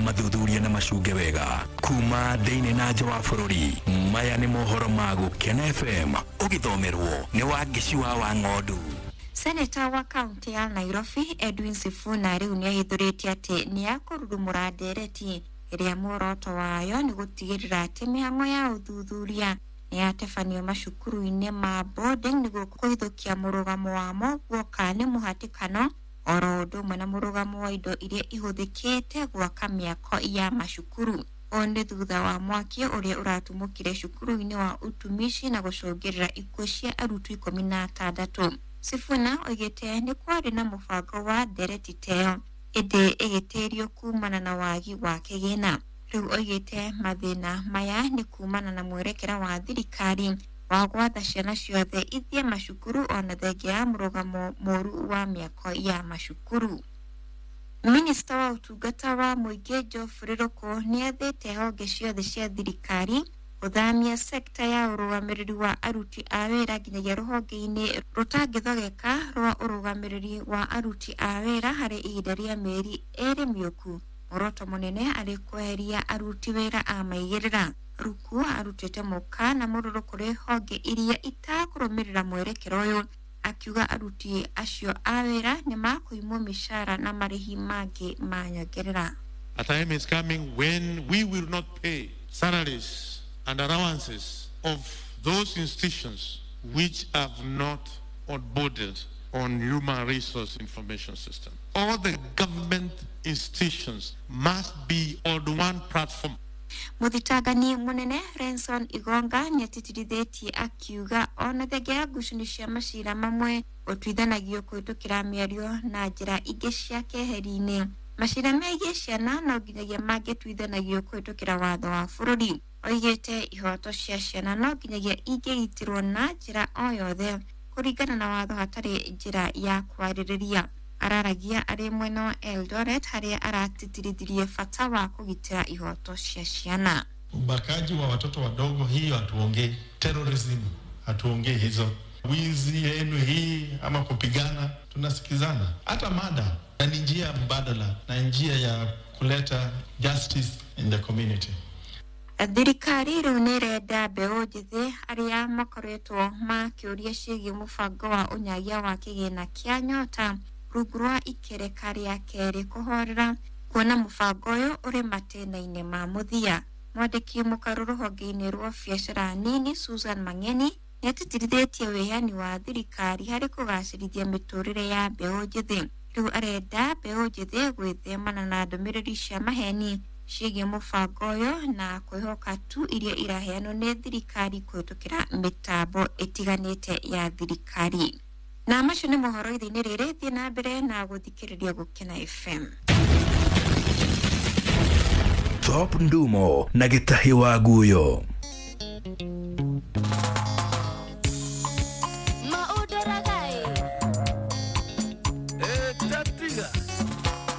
Mathuthuria na macunge wega kuma thĩinĩ na nja wa bũrũri. Maya nĩ mohoro ma Gũkena FM, ũgĩthomerwo nĩ Wangĩci wa Ng'ondu. Seneta wa kaunti ya Nairobi Edwin Sifuna rĩu nĩ ahithũrĩtie atĩ nĩ akũrurumũra ndereti ĩrĩa muoroto wayo nĩ gũtigĩrĩra atĩ mĩhang'o ya ũthuthuria nĩ yatabanio macukuru-inĩ ma boarding nĩguo kũhithũkia mũrũgamo wamo guoka nĩ mũhatĩkano oro ũndũ ũmwe na mũrũgamo wa indo iria ihũthĩkĩte gwaka mĩako ya macukuru. Ũũ nĩ thutha wa mwaki ũrĩa ũratumũkire cukuru-inĩ wa utumishi na gũcũngĩrĩra ikuũ cia arutwo 16. Sifuna oigĩte nĩ kwarĩ na mũbango wa ndereti teyo ĩndĩ ĩgĩtĩrio kumana na wagi wa kĩgĩna. Rĩu oigĩte mathĩna maya nĩ kumana na mwerekera wa thirikari wa gwatha ciana ciothe ithiĩ macukuru ona thengia ya mũrũgamo mũru wa mĩako ya macukuru. Minista wa ũtungata wa mũingĩ Geoffrey Ruku nĩ athĩte honge ciothe cia thirikari gũthamia sekta ya ũrũgamĩrĩri wa aruti a wĩra nginyagia rũhonge-inĩ rũtangĩthogeka rwa ũrũgamĩrĩri wa aruti a wĩra harĩ ihinda rĩa mĩeri 2 mĩũku. Muoroto mũnene arĩ kweheria aruti wĩra a maigĩrĩra. Ruku arutĩte mũkana mũrũrũ kũrĩ honge iria itakũrũmĩrĩra mwerekera ũyũ, akiuga aruti acio a wĩra nĩ makũimwo mĩcara na marĩhi mangĩ ma nyongerera. A time is coming when we will not pay salaries and allowances of those institutions which have not onboarded on human resource information system. All the government institutions must be on one platform. Mũthitangani mũnene Renson Igonga nĩatĩtĩrithĩtie akiuga ona thengia ya ngucanio cia macira mamwe gũtuithanagio kũhĩtũkĩra mĩario na njĩra ingĩ cia keheri-inĩ. Macira megiĩ ciana no nginyagia mangĩtuithanagio kũhĩtũkĩra watho wa bũrũri. Oigĩte ihoto cia ciana no nginyagia ingĩgitĩrwo na njĩra o yothe kũringana na watho hatarĩ njĩra ya kwarĩrĩria. Araragia arĩ mwena wa Eldoret harĩa aratĩtĩrithirie bata wa kũgitĩra ihoto cia ciana. Ubakaji wa watoto wadogo, hiyo hatuongei. Terrorism hatuongei hizo. Wizi yenu hii ama kupigana, tunasikizana. Hata mada na ni njia mbadala na njia ya kuleta justice in the community. Thirikari rĩu nĩ ĩrenda mbeũ njĩthĩ arĩa makoretwo makĩũria ciĩgiĩ mũbango wa ũnyagia wa kĩgĩna kĩa nyota rungu rwa ikereka rĩa kerĩ kũhorera kuona mũbango ũyũ ũrĩ matĩna-inĩ ma mũthia. Mwandĩki mũkarũ rũhonge-inĩ rwa biacara nini Susan Mang'eni nĩatĩtĩrithĩtie wĩheani wa thirikari harĩ kũgacĩrithia mĩtũrĩre ya mbeũ njĩthĩ. Rĩu arenda mbeũ njĩthĩ gwĩthemana na ndũmĩrĩri cia maheni ciĩgiĩ mũbango ũyũ na kwĩhoka tu iria iraheanwo nĩ thirikari kũhĩtũkĩra mĩtambo ĩtiganĩte ya thirikari. Na macio nĩ mohoro ithe-inĩ rĩrĩ, thiĩ na mbere na gũthikĩrĩria Gũkena FM. Top Ndumo na Gĩtahi wa Guyo.